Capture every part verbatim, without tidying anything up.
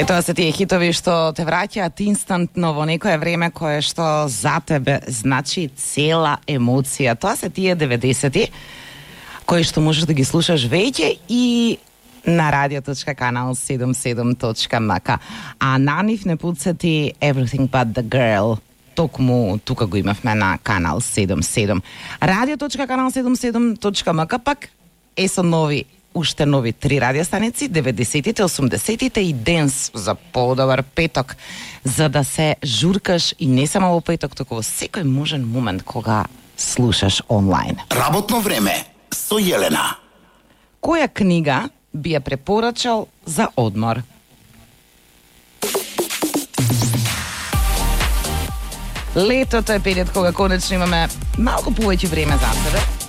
Е, тоа се тие хитови што те враќаат инстантно во некое време кое што за тебе значи цела емоција. Тоа се тие деветдесети, кои што можеш да ги слушаш веќе и на radio.канал седумдесет и седум точка ем ка. А на нив не пуцати Everything But The Girl. Токму тука го имавме на канал седумдесет и седум. radio.канал седумдесет и седум точка ем ка пак е со нови уште нови три радио станици, деветдесетите, осумдесетите и денс за подобар петок, за да се журкаш и не само во петок, туку во секој можен момент кога слушаш онлайн. Работно време со Јелена. Која книга би ја препорачал за одмор? Летото е период кога конечно имаме малку повеќе време за себе.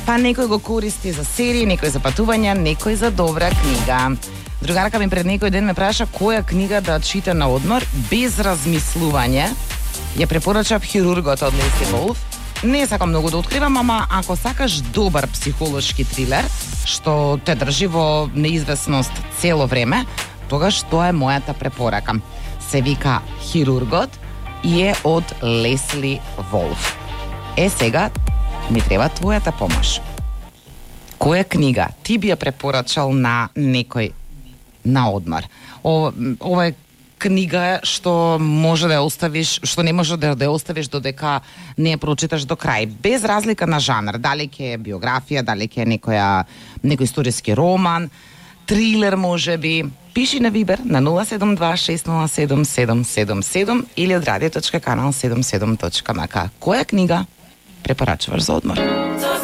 Па некој го користи за серии, некој за патувања, некој за добра книга. Другарка ми пред некој ден ме праша која книга да чита на одмор без размислување. Ја препорачав Хирургот од Лесли Волф. Не сакам многу да откривам, ама ако сакаш добар психолошки трилер, што те држи во неизвестност цело време, тогаш тоа е мојата препорака. Се вика Хирургот и е од Лесли Волф. Е, сега ми треба твојата помош. Која книга ти би ја препорачал на некој на одмор? Ова, ова е книга што може да ја оставиш, што не може да ја оставиш додека не ја прочиташ до крај, без разлика на жанр, дали ќе е биографија, дали ќе е некоја некој историски роман, трилер можеби. Пиши на Вибер на нула седум два шест нула седум седум седум седум или од radio.канал седумдесет и седум точка ем ка. Која книга препорачуваш за одмор?